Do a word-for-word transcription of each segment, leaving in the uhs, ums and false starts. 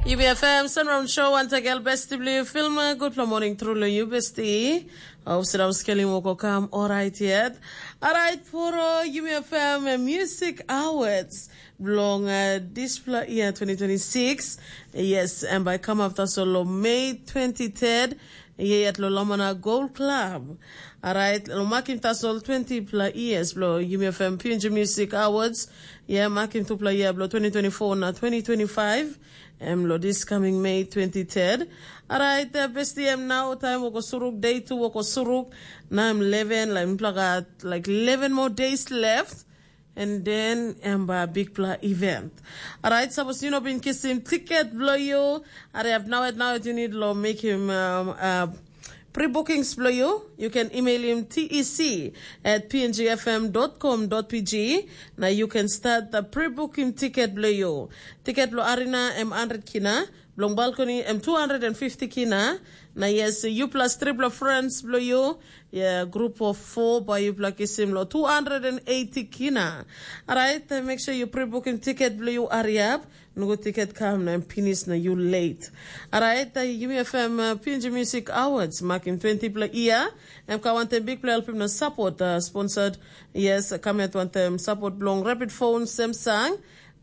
Yumi F M Sunround Show, wantakel besti bilong yu, Filma. Gutpela moning tru long yu, besti. Hope sira skelim wok o kam orait yet. Orait, puro Yumi F M Music Awards bilong uh, dispela year twenty twenty-six. Yes, em bai kamap tasol long Mei twenty-third. Yet lo Lamana Gold Club. Alright, lo makim tasol twenty pla years blo Yumi F M P N G Music Awards. Ye makim tupla year blo twenty twenty-four na twenty twenty-five. Em lo this coming May twenty-third. Alright, uh, besti em now time woko suruk, day two woko suruk. Na em eleven, like, mipla gat like eleven more days left. And then em ba bikpela event. Alright, sapos yu no bin kisim tiket bilong yu, hariap now at now you need lo mekim um, uh, pre-bookings bilong yu. You can email him T E C at P N G F M dot com dot P G. Now you can start the pre-booking ticket bilong yu. Tiket bilong arena em hundred kina, bilong balcony em two hundred fifty kina. Na yes, you plus triple friends bilong you, yeah, group of four by you plus kisim lo two hundred eighty kina. Alright, uh, make sure you pre-booking ticket bilong you, hurry up. Nugu ticket kam na em pinis na you late. Alright, uh, Yumi F M uh, P N G Music Awards makim twenty pla year. Em ka wantem big play helpim na support uh, sponsored. Yes, come at wantem support bilong Rapid Phone, Samsung,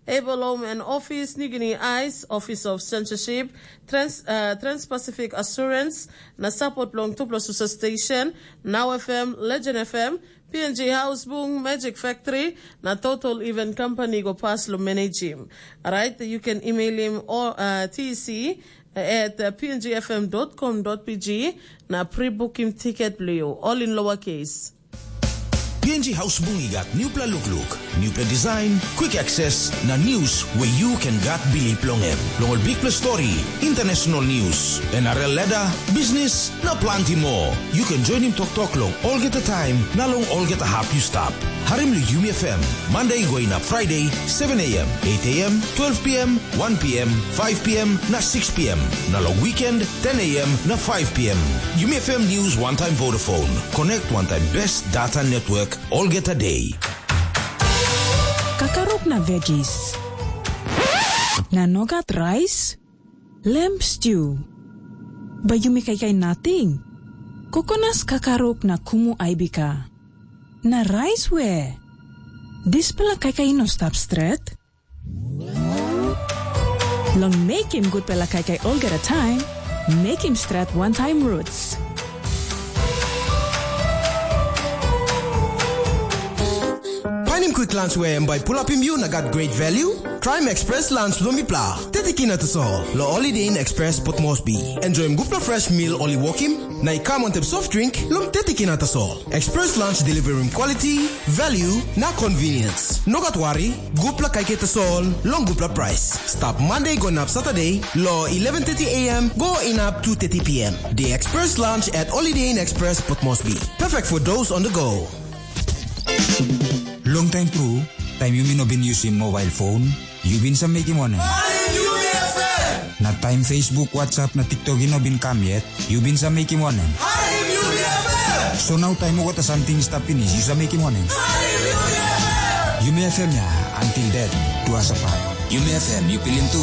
Able Home and Office, New Guinea Ice, Office of Censorship, Trans, uh, Trans-Pacific Assurance, na support long tupla susa station, Now F M, Legend F M, P N G House Bung, Magic Factory, na Total Event Company go pass lo manage him. Alright, you can email him or uh, T C at uh, P N G F M dot com dot P G na pre-book him ticket blo you, all in lower case. P N G House Bung i gat newpela lukluk, newpela design, quick access, na news where you can gat bilip long em. Long ol bikpela story, international news, N R L ladder, business, na planti more. You can join him toktok long olgeta time, na long olgeta hap you stap. Harim lo Yumi F M, Monday going up Friday, seven a.m., eight a.m., twelve p.m., one p.m., five p.m., na six p.m. Na long weekend, ten a.m. na five p.m. Yumi F M News one time Vodafone. Connect one time best data network olgeta day. Kakaruk na veggies. Na nogat rice? Lamb stew. Bai yumi kaikai nating. Kokonas kakaruk na kumu aibika. Na rice we? Dispela kaikai no stap stret. Long mekim gutpela kaikai olgeta taim, mekim stret wantaim roots. Painim quick lunch we em bai pulapim yu na gat great value? Traim express lunch long mipla. Tetikina tasol, lo Holiday Inn Express Port Moresby. Enjoyim gutpela fresh meal ol i wokim, na i kam wantaim soft drink long tetikina tasol. Express lunch delivering quality, value, na convenience. No gat wari, gutpela kaikai tasol, long gutpela price. Stap Monday go inap Saturday, lo eleven thirty a.m. go inap two thirty p.m. The Express Lunch at Holiday Inn Express Port Moresby. Perfect for those on the go. Long time tru, taim yumi no bin yusim mobile phone, yu bin sa mekim wanem? Na taim Facebook, WhatsApp na TikTok i no bin kam yet, yu bin sa mekim wanem? So nau taim olgeta samting i stap pinis, yu sa mekim wanem? Yumi F M ya, until death do us apart. Yumi F M, yu pilim tu.